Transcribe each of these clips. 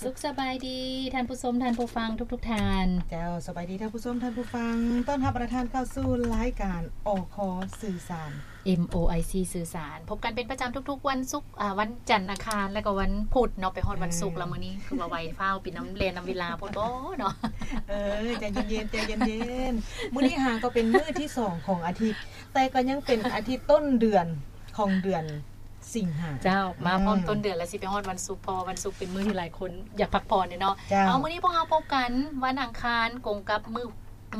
ສຸກສະບາຍດີທ່ານຜູ້ຊົມ ທ່ານຜູ້ຟັງທຸກໆທ່ານ. ເຈົ້າ ສະບາຍດີທ່ານຜູ້ຊົມ ທ່ານຜູ້ຟັງ. ຕ້ອນຮັບບັນດາທ່ານເຂົ້າສູ່ລາຍການ ອຄ ສື່ສານ ເອັມ ໂອ ໄອ ຊີ ສື່ສານ. ພົບກັນເປັນປະຈຳທຸກໆວັນສຸກ ອາ ວັນຈັນ ອັງຄານ ແລະກໍວັນພຸດເນາະ. ໄປຮອດວັນສຸກແລ້ວ ອືມ ມື້ນີ້ຄືວ່າໄວຟ້າວ ເປັນນຳແລ່ນນຳເວລາໂພດບໍ່ເນາະ? ເອີ ໃຈເຢັນໆ ໃຈເຢັນໆ. ມື້ນີ້ຫາກໍເປັນມື້ທີສອງຂອງອາທິດ ແຕ່ກໍຍັງເປັນອາທິດຕົ້ນເດືອນຂອງເດືອນ ສິງຫາ. ເຈົ້າ ມາພ້ອມ ອືມ ຕົ້ນເດືອນ ແລ້ວຊິໄປຮອດວັນສຸກ ເພາະວ່າວັນສຸກເປັນມື້ທີ່ຫຼາຍຄົນຢາກພັກຜ່ອນເນາະ. ເຈົ້າ ເອົາ ມື້ນີ້ພວກເຮົາພົບກັນວັນອັງຄານ ກົງກັບມື້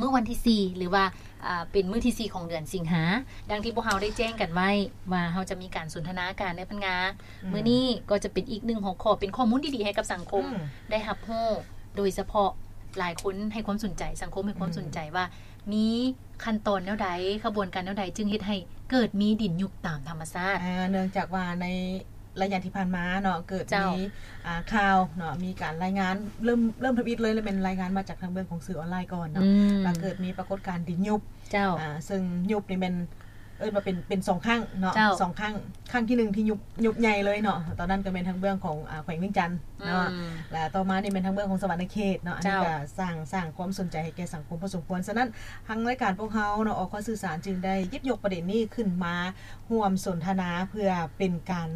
ມື້ວັນທີສີ່ ຫຼືວ່າ ອ່າ ເປັນມື້ທີສີ່ຂອງເດືອນສິງຫາ. ດັ່ງທີ່ພວກເຮົາໄດ້ແຈ້ງກັນໄວ້ວ່າ ເຮົາຈະມີການສົນທະນາການໃນພັນງາ. ອືມ ມື້ນີ້ກໍຈະເປັນອີກໜຶ່ງຫົວຂໍ້ ເປັນຂໍ້ມູນດີໆໃຫ້ກັບສັງຄົມ ອືມ ໄດ້ຮັບຮູ້. ໂດຍສະເພາະຫຼາຍຄົນໃຫ້ຄວາມສົນໃຈ ສັງຄົມໃຫ້ຄວາມ ອືມ ສົນໃຈວ່າ ມີຂັ້ນຕອນແນວໃດ ຂະບວນການແນວໃດ ຈຶ່ງເຮັດໃຫ້ເກີດມີດິນຍຸບຕາມທຳມະຊາດ. ອ່າ ເນື່ອງຈາກວ່າໃນໄລຍະທີ່ຜ່ານມາເນາະ ເກີດ ເຈົ້າ ມີ ອ່າ ຂ່າວເນາະ ມີການລາຍງານ ເລີ່ມ ເລີ່ມທຳອິດເລີຍ ແລະແມ່ນລາຍງານມາຈາກທາງເບື້ອງຂອງສື່ອອນລາຍກ່ອນເນາະ ອືມ ວ່າເກີດມີປາກົດການດິນຍຸບ. ເຈົ້າ ອ່າ ເຊິ່ງຍຸບນີ້ແມ່ນ ເອີ້ນວ່າເປັນ ເປັນສອງຄັ້ງເນາະ. ເຈົ້າ ສອງຄັ້ງ ຄັ້ງທີໜຶ່ງທີ່ຍຸບ ຍຸບໃຫຍ່ເລີຍເນາະ ຕອນນັ້ນກໍແມ່ນທາງເບື້ອງຂອງ ອາ ແຂວງວຽງຈັນເນາະ ອືມ ແລະຕໍ່ມານີ້ແມ່ນທາງເບື້ອງຂອງສະຫວັນນະເຂດເນາະ. ອັນນີ້ ເຈົ້າ ກໍສ້າງ ສ້າງຄວາມສົນໃຈໃຫ້ແກ່ສັງຄົມພໍສົມຄວນ. ສະນັ້ນ ທາງລາຍການພວກເຮົາເນາະ ອຄ ສື່ສານ ຈຶ່ງໄດ້ຫຍິບຍົກປະເດັນນີ້ຂຶ້ນມາຮ່ວມສົນທະນາ ເພື່ອເປັນການ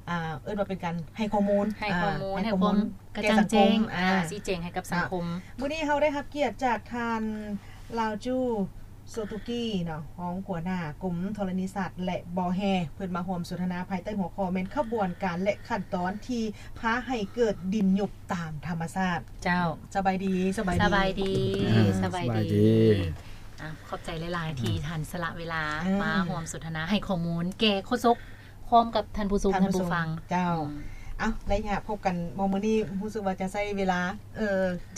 ອ່າ ເອີ້ນວ່າເປັນການໃຫ້ຂໍ້ມູນ ໃຫ້ຂໍ້ມູນ ອ່າ ໃຫ້ຂໍ້ມູນ ໃຫ້ຄວາມກະຈ່າງແຈ້ງ ແກ່ສັງຄົມ ອ່າ ຊີ້ແຈງໃຫ້ກັບສັງຄົມ. ອ່າ ມື້ນີ້ເຮົາໄດ້ຮັບກຽດຈາກທ່ານ ລາວຈູ ໂຊຕຸກີ ເນາະ ຮອງຫົວໜ້າກົມທໍລະນີສາດ ແລະ ບໍ່ແຮ່ ເພິ່ນມາຮ່ວມສົນທະນາພາຍໃຕ້ຫົວຂໍ້ແມ່ນຂະບວນການ ແລະ ຂັ້ນຕອນທີ່ພາໃຫ້ເກີດດິນຍຸບຕາມທຳມະຊາດ. ເຈົ້າ ສະບາຍດີ ສະບາຍດີ ສະບາຍດີ ອ່າ ສະບາຍດີ ສະບາຍດີ. ອ່າ ຂອບໃຈຫຼາຍໆ ອືມ ທີ່ທ່ານສະຫຼະເວລາ ອືມ ມາຮ່ວມສົນທະນາ ໃຫ້ຂໍ້ມູນແກ່ໂຄສົກ ພ້ອມກັບທ່ານຜູ້ຊົມ ທ່ານຜູ້ຟັງ ທ່ານຜູ້ຊົມ ເຈົ້າ. ອືມ ເອົ້າ ໄລຍະພົບກັນມື້ນີ້ຮູ້ສຶກວ່າຈະໃຊ້ເວລາ ເອີ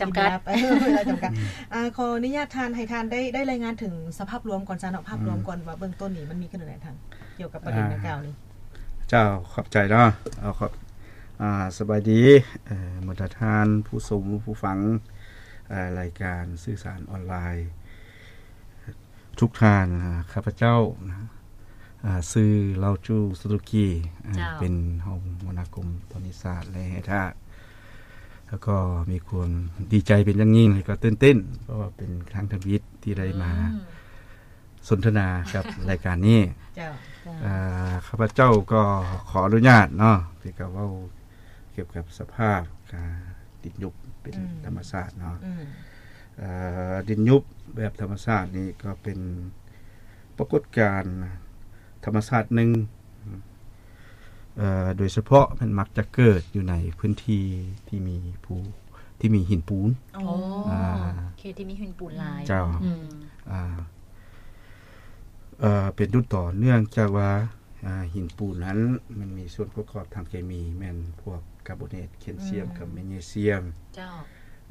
ຈຳກັດ ເວລາ ເວລາຈຳກັດ. ອ່າ ຂໍອະນຸຍາດທ່ານ ໃຫ້ທ່ານໄດ້ ໄດ້ລາຍງານເຖິງສະພາບລວມກ່ອນຊະເນາະ ພາບລວມ ອືມ ກ່ອນວ່າເບື້ອງຕົ້ນນີ້ມັນມີຂຶ້ນແນວໃດທາງ ກ່ຽວກັບປະເດັນ ອ່າ ດັ່ງກ່າວນີ້. ເຈົ້າ ຂອບໃຈເນາະ. ເອົາ ຂອບ ອ່າ ສະບາຍດີ ເອີ ບັນດາທ່ານຜູ້ຊົມຜູ້ຟັງ ເອີ ລາຍການສື່ສານອອນລາຍ ທຸກທ່ານ. ອ່າ ຂ້າພະເຈົ້ານະ ອ່າ ຊື່ ລາວຈູ ສຸຕຸກີ ອ່າ ເຈົ້າ ເປັນຮອງຫົວໜ້າກົມທໍລະນີສາດ ແລະ ແຮ່ທາດ ແລ້ວກໍມີຄວາມດີໃຈເປັນຢ່າງຍິ່ງ ແລ້ວກໍຕື່ນເຕັ້ນ ເພາະວ່າເປັນຄັ້ງທຳອິດທີ່ໄດ້ມາ ອືມ ສົນທະນາກັບລາຍການນີ້. ເຈົ້າ ເຈົ້າ ອ່າ ຂ້າພະເຈົ້າກໍຂໍອະນຸຍາດເນາະ ທີ່ຈະເວົ້າກ່ຽວກັບສະພາບ ອ່າ ດິນຍຸບເປັນ ອືມ ທຳມະຊາດເນາະ. ອືມ ເອີ ດິນຍຸບແບບທຳມະຊາດນີ້ກໍເປັນປາກົດການທຳມະຊາດໜຶ່ງ ເອີ ໂດຍສະເພາະມັນມັກຈະເກີດຢູ່ໃນພື້ນທີ່ທີ່ມີພູ ທີ່ມີຫີນປູນ. ອໍ ອ່າ ເຂດທີ່ມີຫີນປູນຫຼາຍ. ເຈົ້າ ອືມ ອ່າ ເອີ ເປັນຕົ້ນຕໍເນື່ອງຈາກວ່າ ອ່າ ຫີນປູນນັ້ນມັນມີສ່ວນປະກອບທາງເຄມີ ແມ່ນພວກກາໂບເນດ ແຄນຊຽມ ອືມ ກັບແມກນີຊຽມ. ເຈົ້າ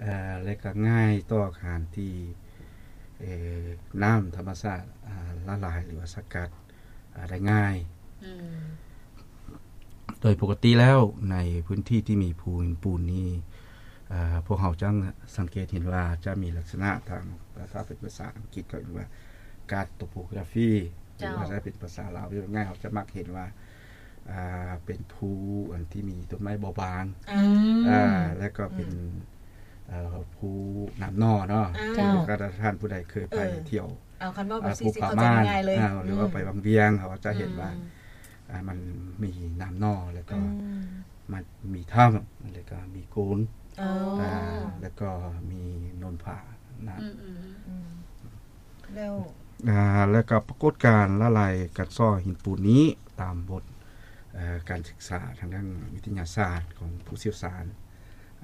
ເອີ ແລະກໍງ່າຍຕໍ່ການທີ່ ເອີ ນ້ຳທຳມະຊາດ ອ່າ ລະລາຍ ຫຼືວ່າສະກັດ ອ່າ ໄດ້ງ່າຍ. ອືມ ໂດຍປົກກະຕິແລ້ວໃນພື້ນທີ່ທີ່ມີພູຫີນປູນນີ້ ເອີ ພວກເຮົາຈະສັງເກດເຫັນວ່າຈະມີລັກສະນະທາງ ຖ້າເປັນພາສາອັງກິດເຂົາເອີ້ນວ່າ ກາດໂຕໂປກຣາຟີ ຫຼືວ່າ ເຈົ້າ ຖ້າເປັນພາສາລາວເວົ້າງ່າຍໆ ເຮົາຈະມັກເຫັນວ່າ ອ່າ ເປັນພູອັນທີ່ມີຕົ້ນໄມ້ບໍ່ບາງ ອືມ ອ່າ ແລ້ວກໍເປັນ ອືມ ເອີ ພູນ້ຳໜໍ່ເນາະ. ເຈົ້າ ຖ້າທ່ານຜູ້ໃດເຄີຍໄປ ເອີ ທ່ຽວ ເອົາ ຄັນເວົ້າແບບຊີ້ ອ່າ ຊິເຂົ້າໃຈງ່າຍໆເລີຍ ອ່າ ຫຼືວ່າ ອືມ ໄປວັງວຽງ ເຮົາຈະເຫັນວ່າ ອືມ ອ່າ ມັນມີນ້ຳໜໍ່ ແລ້ວກໍ ອືມ ມັນມີຖ້ຳ ແລ້ວກໍມີໂກນ ອໍ ອ່າ ແລ້ວກໍມີໂນນຜານະ. ອືມໆ ອືມ ແລ້ວ ອ່າ ແລ້ວກໍປາກົດການລະລາຍກັດເຊາະຫີນປູນນີ້ ຕາມບົດ ເອີ ການສຶກສາທາງດ້ານວິທະຍາສາດຂອງຜູ້ຊ່ຽວຊານ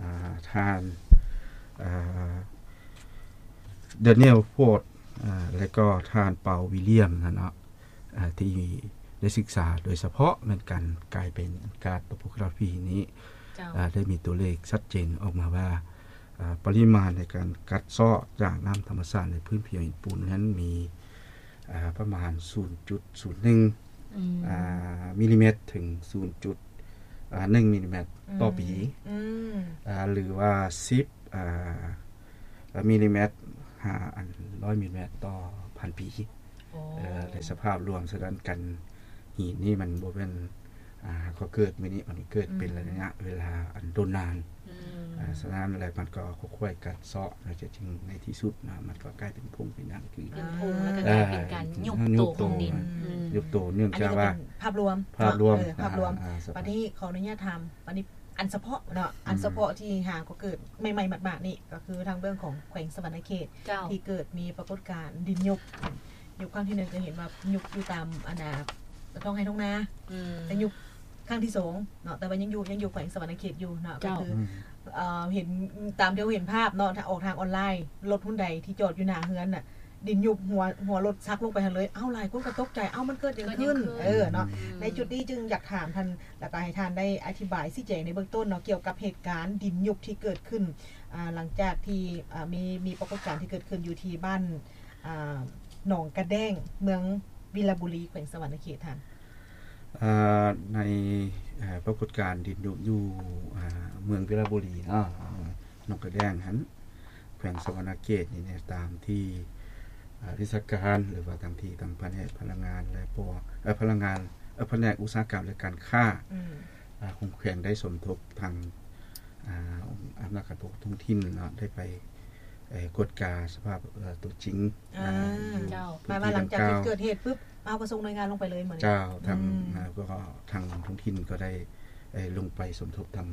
ອ່າ ທ່ານ ເອີ Daniel Ford ອ່າ ແລະກໍທ່ານ Paul William ນະເນາະ ອ່າ ທີ່ໄດ້ສຶກສາໂດຍສະເພາະແມ່ນການກາຍເປັນ Cartography ນີ້ ເຈົ້າ ອ່າ ໄດ້ມີຕົວເລກຊັດເຈນອອກມາວ່າ ອ່າ ປະລິມານໃນການກັດເຊາະຈາກນ້ຳທຳມະຊາດໃນພື້ນຜິວຫີນປູນນັ້ນມີ ອ່າ ປະມານ ສູນຈຸດສູນໜຶ່ງ ອືມ ອ່າ ມິນລີແມັດ ເຖິງ ສູນຈຸດໜຶ່ງ ມິນລີແມັດ ອືມ ຕໍ່ປີ ອືມ ອ່າ ຫຼືວ່າ ສິບ ອ່າ ມິນລີແມັດ ຫາ ອັນ ຮ້ອຍ ມິນລີແມັດ ຕໍ່ພັນປີ. ໂອ້ ເອີ ໃນສະພາບລວມສະນັ້ນ ການຫີນນີ້ມັນບໍ່ແມ່ນ ອ່າ ກໍເກີດມື້ນີ້ ມັນເກີດເປັນ ອືມ ໄລຍະເວລາອັນດົນນານ ອືມ ອ່າ ສະນັ້ນແລ້ວມັນກໍຄ່ອຍໆກັດເຊາະ ແລ້ວຈະຈຶ່ງໃນທີ່ສຸດນະ ມັນກໍກາຍເປັນຜົງເປັນຫຍັງຄື ເປັນຜົງ ແລ້ວກໍກາຍເປັນການຍຸບໂຕຂອງດິນ ອືມ ຍຸບໂຕ ເນື່ອງຈາກວ່າ ອັນນີ້ກໍເປັນພາບລວມ ພາບລວມ ເນາະ ເອີ ພາບລວມ ອ່າ ອ່າ ສະພາບ ບັດນີ້ຂໍອະນຸຍາດຖາມ ບັດນີ້ອັນສະເພາະເນາະ ອັນ ອືມ ສະເພາະທີ່ຫາກໍເກີດໃໝ່ໆ ໝາດໆ ນີ້ ກໍຄືທາງເບື້ອງຂອງແຂວງສະຫວັນນະເຂດ ເຈົ້າ ທີ່ເກີດມີປາກົດການດິນຍຸບ ຍຸບຄັ້ງທີໜຶ່ງກໍເຫັນວ່າຍຸບຢູ່ຕາມອັນນ່າ ທ້ອງໄຮ່ທ້ອງນາ ອືມ ແຕ່ຍຸບຄັ້ງທີສອງເນາະ ແຕ່ວ່າຍັງຢູ່ ຍັງຢູ່ແຂວງສະຫວັນນະເຂດຢູ່ເນາະ ເຈົ້າ ກໍຄື ອືມ ເອີ ເຫັນຕາມທີ່ເຮົາເຫັນພາບເນາະ ອອກທາງອອນລາຍ ລົດຮຸນໄດທີ່ຈອດຢູ່ໜ້າເຮືອນນະ ດິນຍຸບ ຫົວ ຫົວລົດສັກລົງໄປຫັ້ນເລີຍ ເອົ້າ ຫຼາຍຄົນກໍຕົກໃຈ ເອົ້າ ມັນເກີດຫຍັງຂຶ້ນ ເກີດຫຍັງຂຶ້ນ ເອີ ເນາະ ອືມ ໃນຈຸດນີ້ຈຶ່ງຢາກຖາມທ່ານ ແລ້ວກໍໃຫ້ທ່ານໄດ້ອະທິບາຍຊີ້ແຈງໃນເບື້ອງຕົ້ນເນາະ ກ່ຽວກັບເຫດການດິນຍຸບທີ່ເກີດຂຶ້ນ ອ່າ ຫຼັງຈາກທີ່ ອ່າ ມີ ມີປາກົດການທີ່ເກີດຂຶ້ນຢູ່ທີ່ບ້ານ ອ່າ ໜອງກະແດ້ງ ເມືອງວິລະບູລີ ແຂວງສະຫວັນນະເຂດ ທ່ານ. ເອີ ໃນ ເອີ ປາກົດການດິນຍຸບຢູ່ ເອີ ເມືອງວິລະບູລີເນາະ ໜອງກະແດ້ງຫັ້ນ ແຂວງສະຫວັນນະເຂດນີ້ ຕາມທີ່ ເອີ ວິຊາການ ຫຼືວ່າທາງທີ່ທາງພະແນກພະລັງງານ ແລະ ພວກ ເອີ ພະລັງງານ ເອີ ພະແນກອຸດສາຫະກຳ ແລະ ການຄ້າ ອືມ ອາ ຂອງແຂວງໄດ້ສົມທົບທາງ ອາ ອຳນາດການປົກຄອງທ້ອງຖິ່ນເນາະ ໄດ້ໄປ ເອີ ກວດກາສະພາບ ເອີ ຕົວຈິງ ອາ ອາ ຢູ່ ເຈົ້າ ພື້ນທີ່ ໝາຍວ່າຫຼັງຈາກທີ່ເກີດເຫດປຶບ ເຮົາກໍສົ່ງໜ່ວຍງານລົງໄປເລີຍມື້ນີ້ ເຈົ້າ ທາງ ອືມ ອາ ກໍທາງທ້ອງຖິ່ນກໍໄດ້ ເອີ ລົງໄປສົມທົບທາງ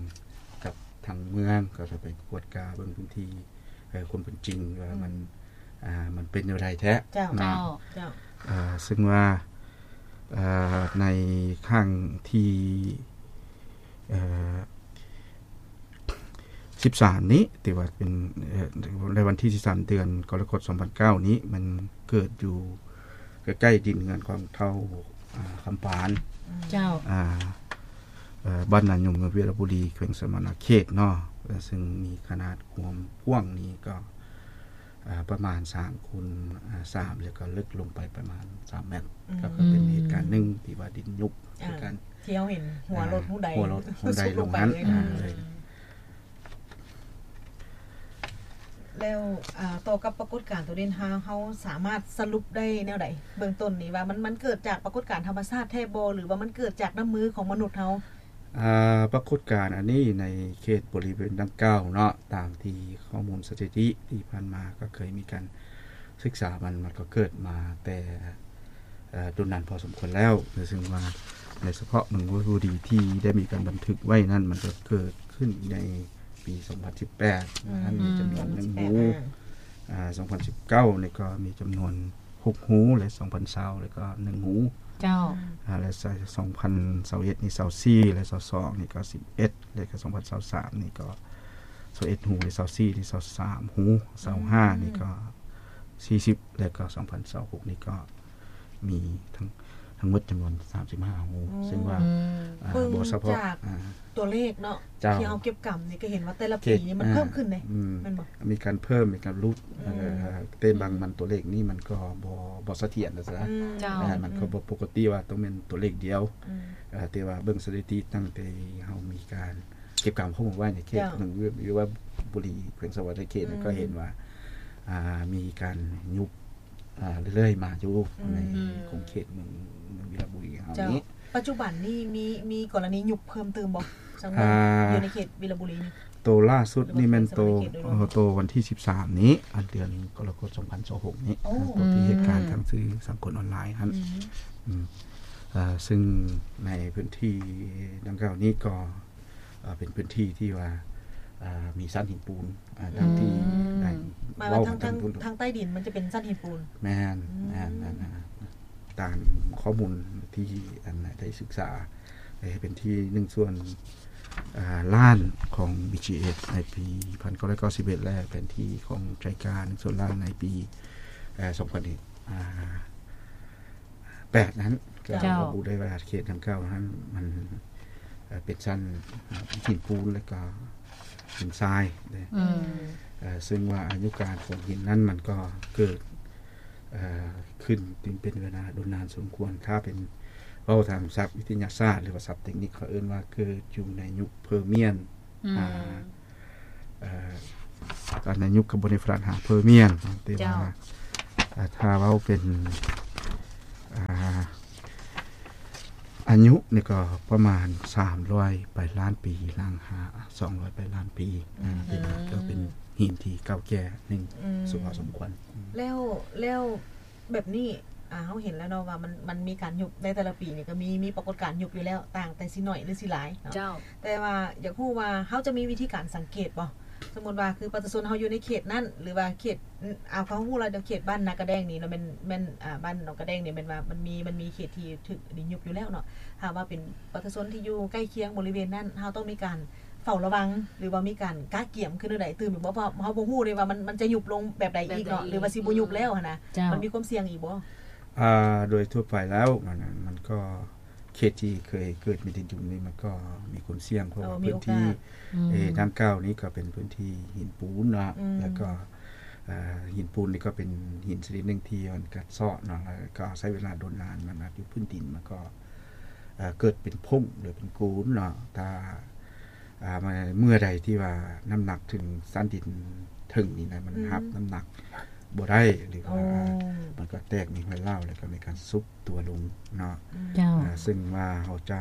ກັບທາງເມືອງ ກໍໄດ້ໄປກວດກາເບິ່ງພື້ນທີ່ ເອີ ຄວາມເປັນຈິງວ່າ ອືມ ມັນ ອ່າ ມັນເປັນແນວໃດແທ້ ເຈົ້າ ເນາະ ເຈົ້າ ເຈົ້າ ເອີ ເຊິ່ງວ່າ ເອີ ໃນຄັ້ງທີ ເອີ ສິບສາມນີ້ ທີ່ວ່າເປັນ ເອີ ໃນວັນທີສິບສາມ ເດືອນກໍລະກົດ ສອງພັນເກົ້ານີ້ ມັນເກີດຢູ່ໃກ້ໆດິນເຮືອນຂອງທ້າວ ອ່າ ຄຳປານ ເຈົ້າ ອ່າ ເອີ ບ້ານນາຍົມ ເມືອງວິລະບູລີ ແຂວງສະຫວັນນະເຂດເນາະ ເຊິ່ງມີຂະໜາດຄວາມກວ້າງນີ້ກໍ ອ່າ ປະມານສາມຄູນ ອ່າ ສາມ ແລ້ວກໍເລິກລົງໄປປະມານສາມແມັດ ອືມ ກໍຄືເປັນເຫດການໜຶ່ງທີ່ວ່າດິນຍຸບ ອ່າ ຄືກັນ ທີ່ເຮົາເຫັນຫົວລົດ ອ່າ ຮຸນໄດ ຫົວລົດຮຸນໄດລົງຫັ້ນ ສຸດລົງໄປເລີຍ ອ່າ ເລີຍ ແລ້ວ ອ່າ ຕໍ່ກັບປາກົດການໂຕນີ້ ເຮົາ ເຮົາສາມາດສະຫຼຸບໄດ້ແນວໃດ ເບື້ອງຕົ້ນນີ້ວ່າມັນ ມັນເກີດຈາກປາກົດການທຳມະຊາດແທ້ບໍ່ ຫຼືວ່າມັນເກີດຈາກນ້ຳມືຂອງມະນຸດເຮົາ? ອ່າ ປາກົດການອັນນີ້ໃນເຂດບໍລິເວນດັ່ງກ່າວເນາະ ຕາມທີ່ຂໍ້ມູນສະຖິຕິທີ່ຜ່ານມາກໍເຄີຍມີການສຶກສາ ມັນ ມັນກໍເກີດມາແຕ່ ເອີ ດົນນານພໍສົມຄວນແລ້ວ ເຊິ່ງວ່າໃນສະເພາະເມືອງວິລະບູລີທີ່ໄດ້ມີການບັນທຶກໄວ້ນັ້ນ ມັນກໍເກີດຂຶ້ນໃນປີສອງພັນສິບແປດ ອືມ ນັ້ນມີຈຳນວນໜຶ່ງຮູ ອືມ ອ່າ ສອງພັນສິບເກົ້ານີ້ກໍມີຈຳນວນ ຫົກຮູ ແລະ ສອງພັນຊາວ ແລ້ວກໍໜຶ່ງຮູ ເຈົ້າ ອ່າ ແລະ ສອງພັນຊາວເອັດນີ້ ຊາວສີ່ ແລະ ຊາວສອງນີ້ກໍສິບເອັດ ແລະ ກໍສອງພັນຊາວສາມນີ້ກໍຊາວເອັດຮູ ແລະ ຊາວສີ່ນີ້ຊາວສາມຮູ ຊາວຫ້ານີ້ກໍສີ່ສິບ ແລະ ກໍສອງພັນຊາວຫົກນີ້ກໍມີທັງ ທັງໝົດຈຳນວນສາມສິບຫ້າຮູ ອືມ ເຊິ່ງວ່າ ອືມ ອ່າ ເບິ່ງ ບໍ່ສະເພາະ ຈາກ ອ່າ ຕົວເລກເນາະ ເຈົ້າ ທີ່ເຮົາເກັບກຳນີ້ກໍເຫັນວ່າແຕ່ລະປີນີ້ມັນ ອ່າ ເພີ່ມຂຶ້ນເດ້ ອືມ ແມ່ນບໍ່? ມີການເພີ່ມ ມີການຫຼຸດ ອືມ ເອີ ແຕ່ບາງມັນຕົວເລກນີ້ມັນກໍບໍ່ ບໍ່ສະຖຽນນະຊະ ອືມ ເຈົ້າ ເອີ ມັນກໍບໍ່ ອືມ ປົກກະຕິວ່າຕ້ອງແມ່ນຕົວເລກດຽວ ອືມ ເອີ ແຕ່ວ່າເບິ່ງສະຖິຕິຕັ້ງແຕ່ເຮົາມີການເກັບກຳຂໍ້ມູນໄວ້ໃນເຂດ ເຈົ້າ ໜຶ່ງ ຢູ່ ຢູ່ວ່າບຸຣີ ແຂວງສະຫວັນນະເຂດ ອືມ ກໍເຫັນວ່າ ອ່າ ມີການຍຸບ ອ່າ ເລື້ອຍໆມາຢູ່ ອືມ ໃນຂົງເຂດເມືອງ ເມືອງວິລະບູລີເຮົາ ເຈົ້າ ນີ້ ປັດຈຸບັນນີ້ມີ ມີກໍລະນີຍຸບເພີ່ມຕື່ມບໍ່? ສັງວອນ ອ່າ ຢູ່ໃນເຂດວິລະບູລີນີ້ ໂຕລ່າສຸດນີ້ແມ່ນໂຕ ແມ່ນແຂວງສະຫວັນນະເຂດໂດຍລວມ ເອີ ໂຕວັນທີສິບສາມນີ້ ອັນເດືອນກໍລະກົດ ສອງພັນຊາວຫົກນີ້ ໂອ້ ໂຕທີ່ເຫດການທາງສື່ສັງຄົມອອນລາຍຫັ້ນ ອືມ ອືມ ເອີ ເຊິ່ງໃນພື້ນທີ່ດັ່ງກ່າວນີ້ກໍ ເອີ ເປັນພື້ນທີ່ທີ່ວ່າ ເອີ ມີຊັ້ນຫີນປູນ ເອີ ອືມ ດັ່ງທີ່ໄດ້ ໝາຍວ່າ ເວົ້າທາງ ທາງ ທາງໃຕ້ດິນມັນຈະເປັນຊັ້ນຫີນປູນ ແມ່ນ ອືມ ແມ່ນ ແມ່ນ ຕາມຂໍ້ມູນທີ່ ອັນ ໄດ້ສຶກສາ ເອີ ແຜນທີ່ໜຶ່ງສ່ວນ ເອີ ລ້ານຂອງ ບີຈີເອັສ ໃນປີໜຶ່ງພັນເກົ້າຮ້ອຍເກົ້າສິບເອັດ ແລະ ແຜນທີ່ຂອງໄຈກາ ໜຶ່ງສ່ວນລ້ານໃນປີ ເອີ ສອງພັນ ອ່າ ແປດນັ້ນ ກໍ ເຈົ້າ ລະບຸໄດ້ວ່າເຂດດັ່ງກ່າວນັ້ນມັນ ເອີ ເປັນຊັ້ນ ເອີ ຫີນປູນ ແລ້ວກໍຫີນຊາຍເດ້ ອືມ ເອີ ເຊິ່ງວ່າອາຍຸການຂອງຫີນນັ້ນມັນກໍເກີດ ເອີ ຂຶ້ນເປັນເວລາດົນນານສົມຄວນ ຖ້າເປັນເວົ້າຕາມສັບວິທະຍາສາດ ຫຼືວ່າສັບເຕັກນິກ ເຂົາເອີ້ນວ່າເກີດຢູ່ໃນຍຸກເພີມຽນ ອືມ ອ່າ ເອີ ໃນຍຸກຄາໂບນິຟັສຫາເພີມຽນ ແຕ່ວ່າ ເຈົ້າ ອ່າ ຖ້າເວົ້າເປັນ ອ່າ ອ ອາຍຸນີ້ກໍປະມານສາມຮ້ອຍປາຍລ້ານປີ ຫຼັງຫາສອງຮ້ອຍປາຍລ້ານປີ. ອືມ ເປັນ ກໍເປັນຫີນທີ່ເກົ່າແກ່ໜຶ່ງ ອືມ ສົມຄວນ. ແລ້ວ ແລ້ວແບບນີ້ ອ່າ ເຮົາເຫັນແລ້ວເນາະວ່າມັນ ມັນມີການຍຸບໃນແຕ່ລະປີນີ້ ກໍມີ ມີປາກົດການຍຸບຢູ່ແລ້ວ ຕ່າງແຕ່ຊິໜ້ອຍຫຼືຊິຫຼາຍເນາະ. ເຈົ້າ. ແຕ່ວ່າຢາກຮູ້ວ່າເຮົາຈະມີວິທີການສັງເກດບໍ່? ສົມມຸດວ່າຄືປະຊາຊົນເຮົາຢູ່ໃນເຂດນັ້ນ ຫຼືວ່າເຂດ ອາ ເຮົາຮູ້ແລ້ວເຂດບ້ານນາກະແດງນີ້ເນາະ ແມ່ນ ແມ່ນ ອ່າ ບ້ານໜອງກະແດງນີ້ແມ່ນວ່າມັນມີ ມັນມີເຂດທີ່ຖືກດິນຍຸບຢູ່ແລ້ວເນາະ. ຖ້າວ່າເປັນປະຊາຊົນທີ່ຢູ່ໃກ້ຄຽງບໍລິເວນນັ້ນ ເຮົາຕ້ອງມີການເຝົ້າລະວັງ ຫຼືວ່າມີການກະກຽມຄືແນວໃດຕື່ມອີກບໍ່? ເພາະເຮົາບໍ່ຮູ້ເດ້ວ່າມັນ ມັນຈະຍຸບລົງແບບໃດອີກເນາະ ແບບໃດອີກ ຫຼືວ່າຊິບໍ່ຍຸບແລ້ວຫັ້ນນະ. ເຈົ້າ. ມັນມີຄວາມສ່ຽງອີກບໍ່? ອ່າ ໂດຍທົ່ວໄປແລ້ວ ມັນ ມັນກໍ ເຂດທີ່ເຄີຍເກີດມີດິນຍຸບນີ້ ມັນກໍມີຄວາມສ່ຽງ ເພາະວ່າ ເອີ ມີໂອກາດ ພື້ນທີ່ ອືມ ເອ ດັ່ງກ່າວນີ້ກໍເປັນພື້ນທີ່ຫີນປູນເນາະ. ອືມ. ແລ້ວກໍ ເອີ ຫີນປູນນີ້ກໍເປັນຫີນຊະນິດໜຶ່ງທີ່ມັນກັດເຊາະເນາະ ແລ້ວກໍໃຊ້ເວລາດົນນານ ມັນອາດຢູ່ພື້ນດິນ ມັນກໍ ເອີ ເກີດເປັນຜົ້ງ ຫຼືເປັນໂກນເນາະ. ຖ້າ ອ່າ ເມື່ອໃດທີ່ວ່ານ້ຳໜັກເຖິງຊັ້ນດິນເທິງນີ້ນະ ມັນ ອືມ ຮັບນ້ຳໜັກບໍ່ໄດ້ ຫຼືວ່າ ໂອ້ ມັນກໍແຕກມີຮອຍຮ້າວ ແລ້ວກໍມີການຊຸບຕົວລົງເນາະ. ເຈົ້າ. ເຊິ່ງວ່າເຮົາຈະ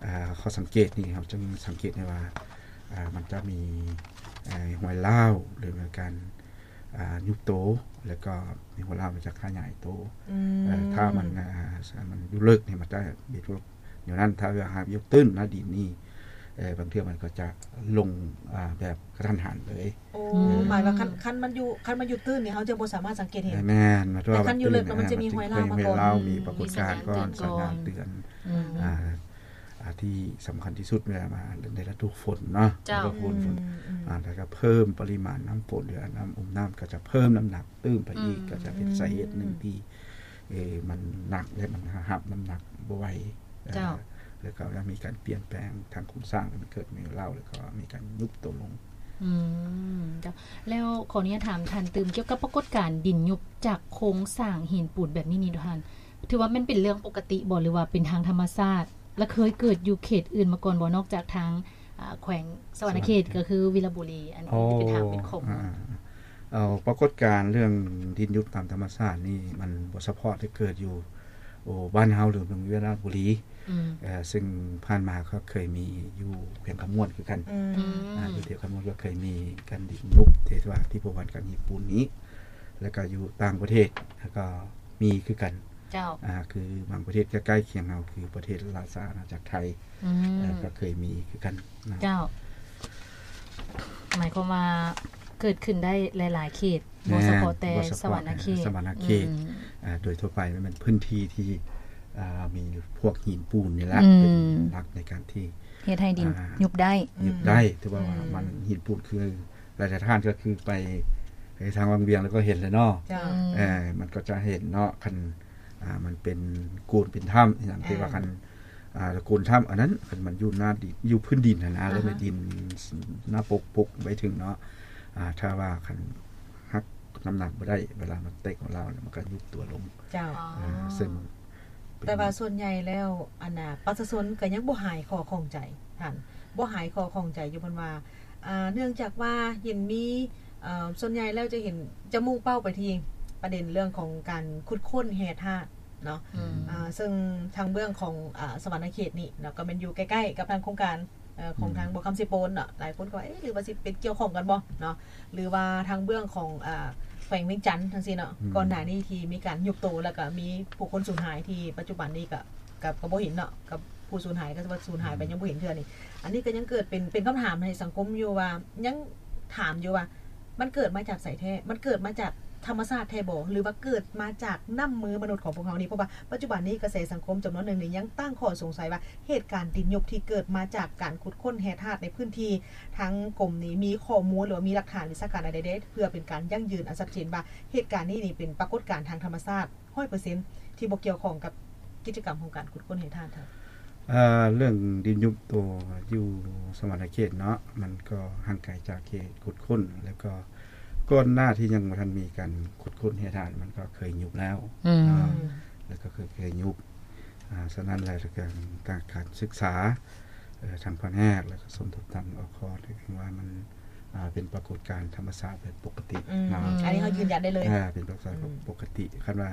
ເອີ ຂໍ້ສັງເກດນີ້ ເຮົາຈຶ່ງສັງເກດໄດ້ວ່າ ເອີ ມັນຈະມີ ເອີ ຮອຍຮ້າວ ຫຼືວ່າການ ອ່າ ຍຸບໂຕ ແລ້ວກໍມີຫົວລາກມັນຈະຂະຫຍາຍໂຕ. ອືມ. ເອີ ຖ້າມັນ ອ່າ ມັນຢູ່ເລິກນີ້ ມັນຈະເປັນພວກແນວນັ້ນ. ຖ້າວ່າຫາກຢູ່ຕື້ນໜ້າດິນນີ້ ເອີ ບາງເທື່ອມັນກໍຈະລົງ ອ່າ ແບບກະທັນຫັນເລີຍ. ໂອ້ ເອີ ໝາຍວ່າຄັນ ຄັນມັນຢູ່ ຄັນມັນຢູ່ຕື້ນນີ້ ເຮົາຈະບໍ່ສາມາດສັງເກດເຫັນ. ແມ່ນ. ແຕ່ຄັນຢູ່ເລິກແລ້ວມັນຈະມີຮອຍລາວມາກ່ອນ. ມີປາກົດການກ່ອນ ອືມ ສັນຍານເຕືອນກ່ອນ. ອືມ. ອ່າ ອ່າ ທີ່ສຳຄັນທີ່ສຸດເວລາມາໃນລະດູຝົນເນາະ. ເຈົ້າ. ລະດູຝົນ. ອືມ ອືມ ອ່າ ແລ້ວກໍເພີ່ມປະລິມານນ້ຳຝົນ ຫຼື ນ້ຳ ອຸ້ມນ້ຳ ກໍຈະເພີ່ມນ້ຳໜັກຕື່ມໄປອີກ. ອືມ. ກໍຈະເປັນສາເຫດໜຶ່ງທີ່ ເອີ ມັນໜັກ ແລະ ມັນຮັບນ້ຳໜັກບໍ່ໄຫວ. ເຈົ້າ. ເອີ ແລ້ວກໍຍັງມີການປ່ຽນແປງທາງໂຄງສ້າງ ທີ່ມັນເກີດມີເຫຼົ່າ ແລ້ວກໍມີການຍຸບໂຕລົງ. ອືມ ເຈົ້າ. ແລ້ວຂໍອະນຸຍາດຖາມທ່ານຕື່ມ ກ່ຽວກັບປາກົດການດິນຍຸບຈາກໂຄງສ້າງຫີນປູນແບບນີ້ນີ້ ທ່ານ ຖືວ່າແມ່ນເປັນເລື່ອງປົກກະຕິບໍ່ ຫຼືວ່າເປັນທາງທຳມະຊາດ ແລະ ເຄີຍເກີດຢູ່ເຂດອື່ນມາກ່ອນບໍ່ ນອກຈາກທາງ ອາ ແຂວງສະຫວັນນະເຂດ ກໍຄືວິລະບູລີ ອັນ ອໍ ທີ່ເປັນທາງເປັນຂອງ? ອ່າ ເອົາ ປາກົດການເລື່ອງດິນຍຸບຕາມທຳມະຊາດນີ້ ມັນບໍ່ສະເພາະແຕ່ເກີດຢູ່ ໂອ ບ້ານເຮົາ ຫຼື ເມືອງວິລະບູລີ. ອືມ. ເອີ ເຊິ່ງຜ່ານມາກໍເຄີຍມີຢູ່ແຂວງຄຳມ່ວນຄືກັນ. ອືມ. ອືມ. ອ່າ ຢູ່ແຖວຄຳມ່ວນກໍເຄີຍມີການດິນຍຸບ ທີ່ວ່າທີ່ບໍ່ວ່າການຫີນປູນນີ້ ແລ້ວກໍຢູ່ຕ່າງປະເທດ ແລ້ວກໍມີຄືກັນ. ເຈົ້າ. ອ່າ ຄືບາງປະເທດໃກ້ໆຄຽງເຮົາ ຄືປະເທດລາຊະອານາຈັກໄທ. ອືມ. ເອີ ກໍເຄີຍມີຄືກັນນະ. ເຈົ້າ. ໝາຍຄວາມວ່າເກີດຂຶ້ນໄດ້ຫຼາຍໆເຂດ ບໍ່ສະເພາະແຕ່ ແມ່ນ ສະຫວັນນະເຂດ. ບໍ່ສະເພາະແຕ່ສະຫວັນນະເຂດ. ອືມ. ອ່າ ໂດຍທົ່ວໄປມັນເປັນພື້ນທີ່ທີ່ ອ່າ ມີພວກຫີນປູນນີ້ແຫຼະ ອືມ ເປັນຫຼັກໃນການທີ່ເຮັດໃຫ້ດິນ ອ່າ ຍຸບໄດ້. ຍຸບໄດ້. ອືມ. ຖືວ່າ ອືມ ມັນຫີນປູນຄື ຫຼາຍໆທ່ານກໍຄືໄປ ໄປທາງວັງວຽງແລ້ວກໍເຫັນແລ້ວເນາະ. ເຈົ້າ. ອືມ. ເອີ ມັນກໍຈະເຫັນເນາະ ຄັນ ອ່າ ມັນເປັນໂກນເປັນຖ້ຳອີ່ຫຍັງ ອ່າ ທີ່ວ່າຄັນ ອ່າ ໂກນຖ້ຳ ອັນນັ້ນ ຄັນມັນຢູ່ໜ້າດິນ ຢູ່ພື້ນດິນຫັ້ນນະ ອ່າຮະ ແລ້ວແມ່ນດິນໜ້າປົກ ປົກໄວ້ເຖິງເນາະ. ອ່າ ຖ້າວ່າຄັນຮັບນ້ຳໜັກບໍ່ໄດ້ ເວລາມັນແຕກຂອງລາວ ມັນກໍຍຸບຕົວລົງ. ເຈົ້າ. ເອີ ເຊິ່ງ ແຕ່ວ່າສ່ວນໃຫຍ່ແລ້ວ ອັນນ່າ ປະຊາຊົນກໍຍັງບໍ່ຫາຍຂໍ້ຂ້ອງໃຈ ທ່ານ ບໍ່ຫາຍຂໍ້ຂ້ອງໃຈຢູ່ ເພິ່ນວ່າ ອ່າ ເນື່ອງຈາກວ່າເຫັນມີ ເອີ ສ່ວນໃຫຍ່ແລ້ວຈະເຫັນ ຈະມຸ່ງເປົ້າໄປທີ່ປະເດັນເລື່ອງຂອງການຂຸດຄົ້ນແຮ່ທາດເນາະ. ອືມ. ອ່າ ເຊິ່ງທາງເບື້ອງຂອງ ອ່າ ສະຫວັນນະເຂດນີ້ເນາະ ກໍແມ່ນຢູ່ໃກ້ໆກັບທາງໂຄງການ ເອີ ຂອງ ອືມ ທາງບໍ່ຄຳເຊໂປນເນາະ. ຫຼາຍຄົນກໍວ່າ ເອະ ຫຼືວ່າຊິເປັນກ່ຽວຂ້ອງກັນບໍ່ເນາະ ຫຼືວ່າທາງເບື້ອງຂອງ ອ່າ ແຂວງວຽງຈັນຈັ່ງຊີ້ເນາະ. ອືມ. ກ່ອນໜ້ານີ້ທີ່ມີການຍຸບໂຕ ແລ້ວກໍມີຜູ້ຄົນສູນຫາຍ ທີ່ປັດຈຸບັນນີ້ກໍ ກໍ ກໍບໍ່ເຫັນເນາະ ກັບຜູ້ສູນຫາຍ ກໍວ່າສູນຫາຍໄປ ອືມ ຍັງບໍ່ເຫັນເທື່ອນີ້. ອັນນີ້ກໍຍັງເກີດເປັນ ເປັນຄຳຖາມໃຫ້ສັງຄົມຢູ່ວ່າ ຍັງຖາມຢູ່ວ່າ ມັນເກີດມາຈາກໃສແທ້? ມັນເກີດມາຈາກທຳມະຊາດແທ້ບໍ່ ຫຼືວ່າເກີດມາຈາກນ້ຳມືມະນຸດຂອງພວກເຮົານີ້? ເພາະວ່າປັດຈຸບັນນີ້ກະແສສັງຄົມຈຳນວນໜຶ່ງນີ້ຍັງຕັ້ງຂໍ້ສົງໄສວ່າ ເຫດການດິນຍຸບທີ່ເກີດມາຈາກການຂຸດຄົ້ນແຮ່ທາດໃນພື້ນທີ່ ທາງກົມນີ້ມີຂໍ້ມູນ ຫຼືວ່າມີຫຼັກຖານວິຊາການອັນໃດເດ ເພື່ອເປັນການຢັ້ງຢືນອັນຊັດເຈນວ່າ ເຫດການນີ້ນີ້ເປັນປາກົດການທາງທຳມະຊາດ ຮ້ອຍເປີເຊັນ ທີ່ບໍ່ກ່ຽວຂ້ອງກັບກິດຈະກຳຂອງການຂຸດຄົ້ນແຮ່ທາດ. ເອີ ເລື່ອງດິນຍຸບໂຕຢູ່ສະຫວັນນະເຂດເນາະ ມັນກໍຫ່າງໄກຈາກເຂດຂຸດຄົ້ນ ແລ້ວກໍກ່ອນໜ້າທີ່ຍັງບໍ່ທັນມີການຂຸດຄົ້ນແຮ່ທາດ ມັນກໍເຄີຍຍຸບແລ້ວ. ອືມ. ເນາະ ແລ້ວກໍເຄີຍ ເຄີຍຍຸບ. ອ່າ ສະນັ້ນແລ້ວ ທາງການສຶກສາ ເອີ ທາງພະແນກ ແລ້ວກໍສົມທົບທາງ ອຄ ຖືວ່າມັນ ອ່າ ເປັນປາກົດການທຳມະຊາດແບບປົກກະຕິ. ອືມ. ເນາະ ອືມ ອັນນີ້ເຮົາຢືນຢັນໄດ້ເລີຍ. ອ່າ ເປັນປາກົດການ ອືມ ປົກກະຕິ. ຄັນວ່າ